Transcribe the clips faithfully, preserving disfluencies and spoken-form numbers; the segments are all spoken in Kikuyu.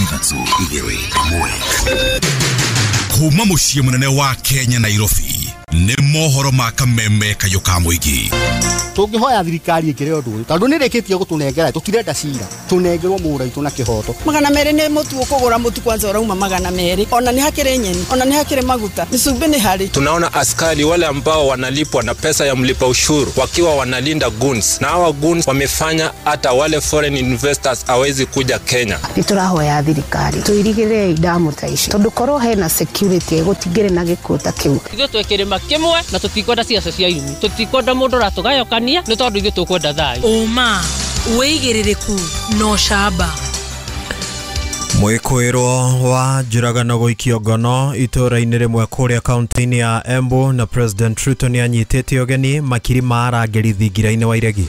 Ithatũ igĩrĩ ĩmwe. Kuma mũciĩ mũnene wa Kenya Nairobi nĩ mohoro ma kameme kayũ ka mũingĩ. Tũngĩhoya thirikari ĩkĩre ũndũ ũyũ tondũ nĩrĩkĩtie gũtũnengera, tũtirenda cira, tũnengerwo mũgũnda witũ na kĩhoto. Magana merĩ nĩ mũtu ũkũgũra mũtu kwanza ũrauma magana merĩ, ona nĩ hakĩrĩ nyeni, ona nĩ hakĩrĩ maguta, mĩcumbĩ nĩ harĩ. Tunaona askari wale ambao wanalipwa na pesa ya mlipa ushuru wakiwa wanalinda goons, na hawa goons wamefanya hata wale foreign investors hawezi kuja Kenya. Nĩtũrahoya thirikari tũirigĩre damu ta ici tondũ korwo hena security gũtingĩrĩ na gĩkuũ ta kĩu. Ithuĩ twĩ kĩrĩma kĩmwe na tũtikwenda ciaca cia irumi, tũtikwenda mũndũ ũratũgayũkania nĩ tondũ ithuĩ tũkwenda thayũ. Ũma, wĩigĩrĩrĩku na ũcamba. Mwĩkũĩrwo wa njũragano gũikio ngono itũũra-inĩ rĩmwe kũrĩa kaunti-inĩ ya Embu na President Ruto nĩanyitĩte ũgeni makiri ma arangĩri thingira-inĩ wa iregi.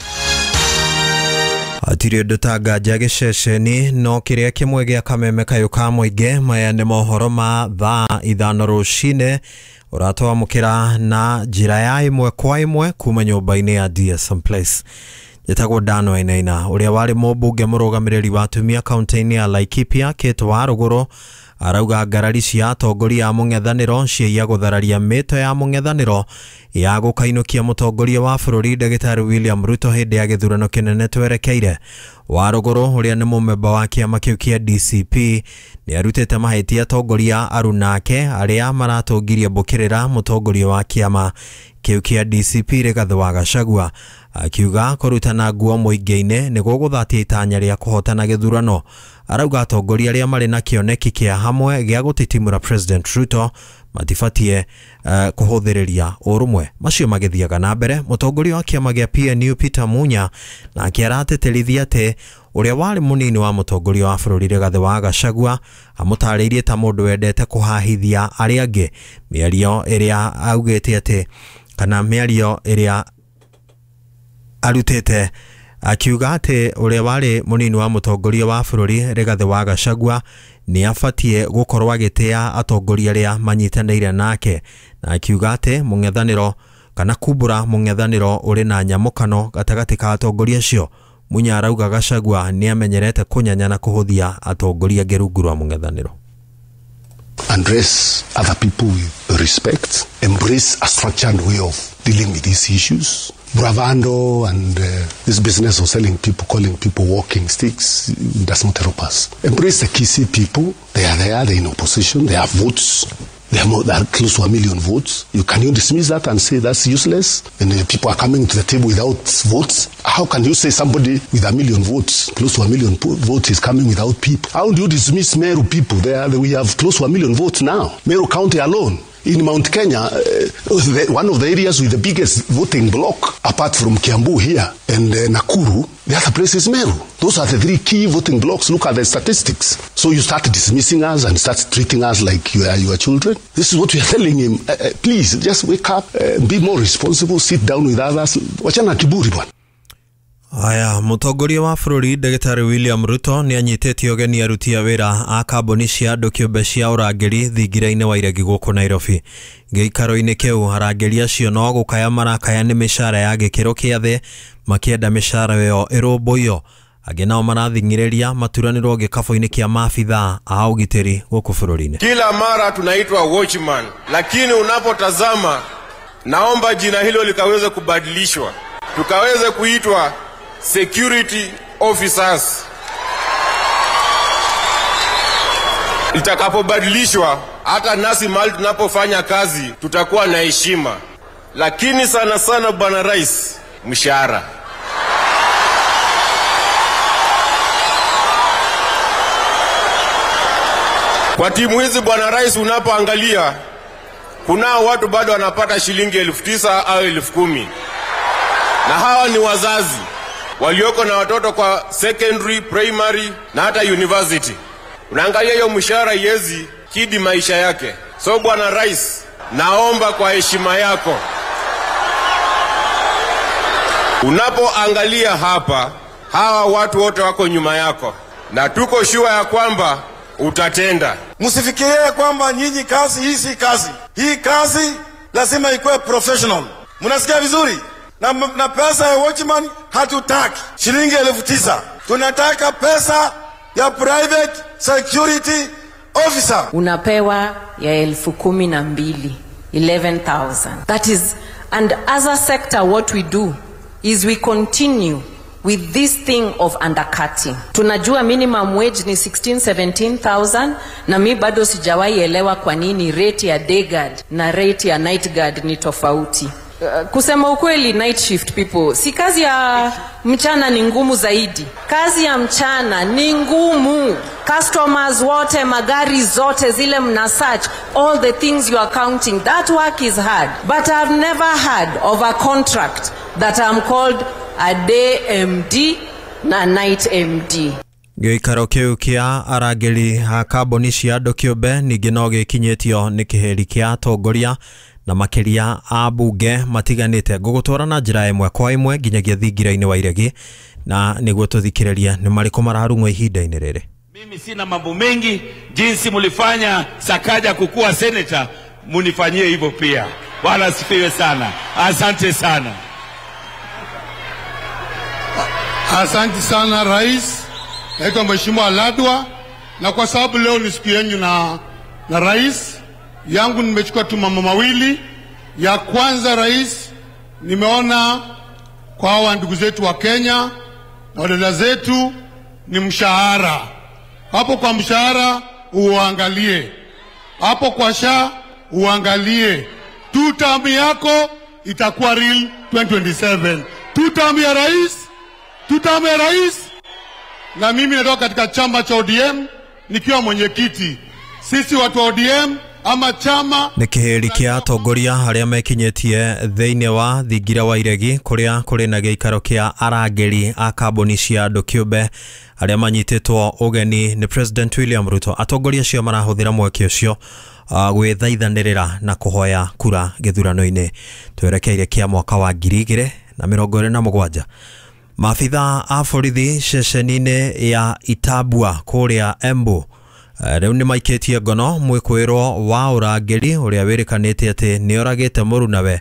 Hatirĩ ũndũ ta nganja gĩceceni no kĩrĩa kĩmwe gĩa kameme kayũ ka mũingĩ. Maya nĩ mohoro ma thaa ithano rũcinĩ ũratwamũkĩra na njĩra ya ĩmwe kwa ĩmwe kuma nyũmba-inĩ ya D S M Place. Njĩtagwo Dan Wainaina. Ũrĩa warĩ mũmbunge mũrũgamĩrĩri wa atumia kaunti-inĩ ya Laikipia Kate Warũgũrũ arauga ngarari cia atongoria a mũng'ethanĩro ciĩia gũthararia mĩto ya mũng'ethanĩro ya gũkainũkia mũtongoria wa bũrũri Ndagĩtarĩ William Ruto hĩndĩ ya gĩthurano kĩnene twerekeire. Warũgũrũ ũrĩa nĩ mũmemba wa kĩama kĩu kĩa D C P nĩarutĩte mahĩtia atongoria arunake arĩa maratũngirie mbũkĩrĩra mũtongoria wa kĩama kĩu kĩa D C P Rigathĩ wa Gachagua, akiuga kũrutana nguo mũingĩ-inĩ nĩguo gũthatia itanya rĩa kũhotana gĩthurano. Arauga atongoria arĩa marĩ na kĩoneki kĩa hamwe gĩa gũtitimũra President Ruto matibatie uh, kũhũthĩrĩria ũrũmwe. Macio magĩthiaga na mbere, mũtongoria wa kĩama gĩa P N U Peter Munya nake aratĩtĩrithia atĩ ũrĩa warĩ mũnini wa mũtongoria wa bũrũri Rigathĩ wa Gachagua amũtarĩirie ta mũndũ wendete kũhahithia arĩa angĩ. Mĩario ĩrĩa augĩte atĩ kana mĩario ĩrĩa arutĩte akiuga atĩ ũrĩa warĩ mũnini wa mũtongoria wa bũrũri Rigathĩ wa Gachagua nĩ abatie gũkorwo agĩtĩa atongoria arĩa manyitanĩire nake, na akiuga atĩ mũng'ethanĩro kana kumbũra mũng'ethanĩro ũrĩ na nyamũkano gatagatĩ ka atongoria acio. Munya arauga Gachagua nĩ amenyerete kũnyanya na kũhũthia atongoria angĩ rungu rwa mũng'ethanĩro. Address other people with respect, embrace a structured way of dealing with these issues. Bravando and uh, this business of selling people, calling people walking sticks does not help us. Embrace the Kisii people. They are there, they're in opposition, they have votes. They are, more, they are close to a million votes. You can you dismiss that and say that's useless? And uh, people are coming to the table without votes. How can you say somebody with a million votes, close to a million votes, is coming without people? How do you dismiss Meru people? They are, we have close to a million votes now. Meru County alone. In Mount Kenya, uh, the, one of the areas with the biggest voting bloc, apart from Kiambu here and uh, Nakuru, the other place is Meru. Those are the three key voting blocks. Look at the statistics. So you start dismissing us and start treating us like you are your children. This is what we are telling him. Uh, uh, please, just wake up, uh, be more responsible, sit down with others. Wachana kiburi bwana. Aya, mũtongoria wa bũrũri Ndagĩtarĩ William Ruto nĩanyitĩte ũgeni aruti a wĩra a kambuni cia andũ kĩũmbe cia ũrangĩri thingira-inĩ wa iregi gũkũ Nairobi. Gĩikaro-inĩ kĩu arangĩri acio no gũkaya marakaya nĩ mĩcara ya gĩkĩro kĩa thĩ makĩenda mĩcara ĩyo ĩrũmbũiyo. Angĩ nao marathing'ĩrĩria maturanĩrwo gĩkabũ-inĩ kĩa maabithaa a ũgitĩri gũkũ bũrũri-inĩ. Kila mara tunaitwa watchman, lakini unapotazama, naomba jina hilo likaweze kubadilishwa tukaweze kuitwa security officers. Itakapobadilishwa, hata nasi mahali tunapofanya kazi tutakuwa na heshima. Lakini sana sana Bwana Rais, mshahara. Kwa timu hizi Bwana Rais, unapoangalia kuna watu bado wanapata shilingi elfu tisa au elfu kumi. Na hawa ni wazazi walioko na watoto kwa secondary, primary na hata university. Unaangalia hiyo mshahara yezi kidi maisha yake. So Bwana Rais, naomba kwa heshima yako, unapoangalia hapa, hawa watu wote wako nyuma yako, na tuko sure ya kwamba utatenda. Msifikirie kwamba nyinyi kazi hii si kazi. Hii kazi lazima ikuwe professional. Mnasikia vizuri? Na, na pesa ya watchman hatutaki shilingi elfu tisa. Tunataka pesa ya private security officer. Unapewa ya elfu kumi na mbili, eleven thousand. That is, and as a sector what we do is we continue with this thing of undercutting. Tunajua minimum wage ni sixteen, seventeen thousand, na mi bado sijawahi elewa kwa nini rate ya day guard na rate ya night guard ni tofauti. Uh, kusema ukweli, night shift people, si kazi ya mchana ni ngumu zaidi. Kazi ya mchana ni ngumu. Customers wote, magari zote zile mna search, all the things you are counting, that work is hard. But I've never heard of a contract that I'm called a day M D na night M D. Gĩikaro kĩu kĩa arangĩri a kambuni cia andũ kĩũmbe ningĩ no gĩkinyĩtio nĩ kĩhĩri kĩa atongoria na makĩria a mbunge matiganĩte. Ngũgũtwara na njĩra ĩmwe kwa ĩmwe nginyagia thingira-inĩ wa iregi na nĩguo tũthikĩrĩrie nĩ marĩkũ mararung'wo ihinda-inĩ rĩrĩ. Mimi sina mambo mengi, jinsi mulifanya Sakaja kukua senator, munifanyie hivyo pia. Bwana asifiwe sana. Asante sana. Asante sana Rais. Naitwa Mheshimiwa Ladwa, na kwa sababu leo ni siku yenu na, na Rais yangu, nimechukua tu mambo mawili. Ya kwanza Rais, nimeona kwa hawa ndugu zetu wa Kenya na wadada zetu ni mshahara. Hapo kwa mshahara uangalie, hapo kwa sha uangalie. Two term yako itakuwa real twenty twenty-seven. Two term ya Rais, two term ya Rais. Na mimi natoka katika chama cha O D M nikiwa mwenyekiti. Sisi watu wa O D M ama chama nĩ kĩhĩri kĩa atongoria arĩa mekinyĩtie thĩinĩ wa thingira wa iregi kũrĩa kũrĩ na gĩikaro kĩa arangĩri a kambuni cia andũ kĩũmbe arĩa manyitĩtwo ũgeni nĩ President William Ruto. Atongoria acio marahũthĩra mweke ũcio gwĩthaithanĩrĩra na kũhoya kura gĩthurano-inĩ twerekeire kĩa mwaka wa ngiri igĩrĩ na mĩrongo ĩrĩ na mũgwanja. Maabitha a borithi ceceni-inĩ ya Itabua kũrĩa Embu rĩu nĩ maikĩtie ngono mwĩkwĩrwo wa ũrangĩri ũrĩa wĩrĩkanĩte atĩ nĩ oragĩte mũrunawe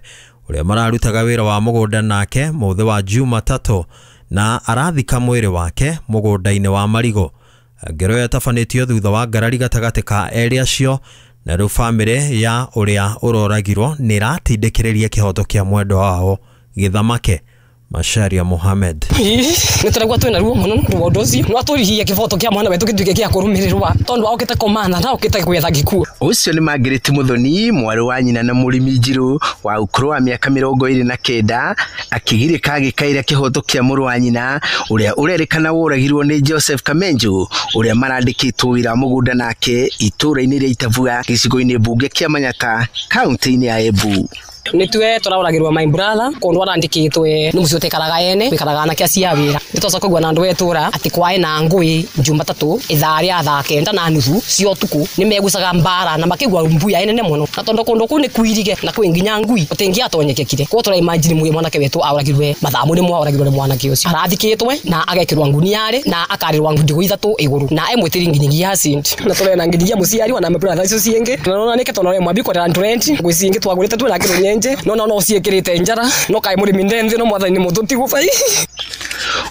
ũrĩa mararutaga wĩra wa mũgũnda nake mũthĩ wa Jumatatũ na arathika mwĩrĩ wake mũgũnda-inĩ wa marigũ. Ngero yatabanĩtio thutha wa ngarari gatagatĩ ka erĩ acio, na rĩu bamĩrĩ ya ũrĩa ũroragirwo nĩ ĩratindĩkĩrĩria kĩhoto kĩa mwendwa wao gĩthamake. Masharia Mohamed. Nĩ tũraigua twĩna ruo mũno nĩ ũndũ ũcio. No atũrihie kĩboto kĩa mwana wetũ gĩtuĩke gĩa kũrũmĩrĩrwo tondũ okĩte kũmana na okĩte gwetha gĩkuũ. Ũcio nĩ Margaret Muthoni, mwarĩ wa nyina na mũrĩmi Njirũ wa ũkũrũ wa mĩaka mĩrongo ĩrĩ na kenda, akĩgirĩka agĩkaĩra kĩhoto kĩa mũrũ wa nyina ũrĩa ũrerĩkana woragirwo nĩ Joseph Kamenju ũrĩa marandĩkĩtwo wĩra wa mũgũnda nake itũũra-inĩ rĩa Itabua gĩcigo-inĩ mbunge kĩa Manyata kaunti-inĩ ya Embu. Nitwe tũraũragĩrwo my brother kũndũ arandĩkĩtwe nĩ mũciĩ ũtekaraga ene wĩkaraga anake acio a wĩra. Nĩ twacoka kũigua na andũ a itũũra atĩ kwaĩ na ngũĩ Jumatatũ ithaa rĩa thaa kenda na nuthu cia ũtukũ nĩ megucaga mbara na makĩigua mbuya nene mũno, na tondũ kũndũ kũu nĩ kwirige na kwĩ nginya ngui ũtingĩatonyekekire. Koguo tũra imagine mwĩ mwanake wetũ aũragirwe mathaa mũrĩ mwaũragirwo nĩ mwanake ũcio. Arathikĩtwe na agekĩrwo nguniarĩ na akarĩrwo ndigũ ithatũ igũrũ na emwĩtĩri nginyagia acid na tũrena nginyagia mũciari ona brother icio ciĩngĩ na nona nĩke tondũ mwambi kwenda rent ngũ ciĩngĩ twagũrĩte twĩna kĩrũ nje no no no ciĩkĩrĩte njara no kaĩ mũrĩmi ndenthi no mwathani mũtũ bai.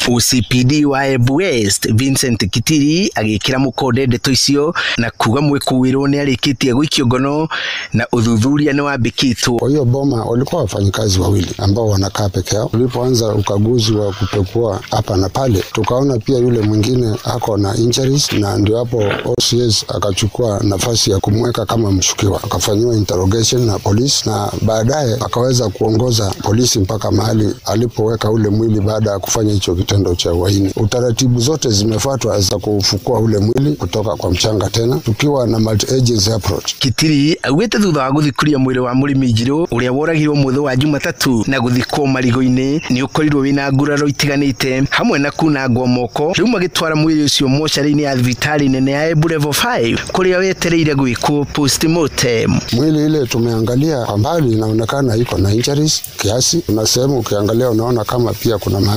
O C P D wa Embu West Vincent Kitiri agĩkĩra mũkonde ndeto icio na kuga mwĩkũĩrwo nĩ arĩkĩtie gũikio ngono na ũthuthuria nĩ wambĩkĩtwo. Kwa hiyo boma walikuwa wafanyikazi wawili ambao wanakaa peke yao. Tulipoanza ukaguzi wa kupekua hapa na pale, tukaona pia yule mwingine ako na injuries, na ndio hapo O C S akachukua nafasi ya kumweka kama mshukiwa. Akafanyiwa interrogation na polisi na baadaye akaweza kuongoza polisi mpaka mahali alipoweka ule mwili baada ya kufanya hicho kitendo cha uhaini. Utaratibu zote zimefuatwa za kufukua ule mwili kutoka kwa mchanga tena tukiwa na multi agency approach. Kitiri augite thutha wa guthikuria mwiri wa mũrĩmi Njirũ ũrĩa woragirwo mũthĩ wa Jumatatu na guthikwo marigũ-inĩ nĩ ũkorirwo wĩna nguraro itiganĩte hamwe na kunangwo moko. Rĩu magĩtwara mwĩrĩ ũcio mocarĩ-inĩ ya thibitarĩ nene ya Embu Level five kũrĩa wetereire gwĩkwo postmortem. Mwili ile tumeangalia kwa mbali inaonekana iko na injuries kiasi, na sehemu ukiangalia unaona kama pia kuna mahali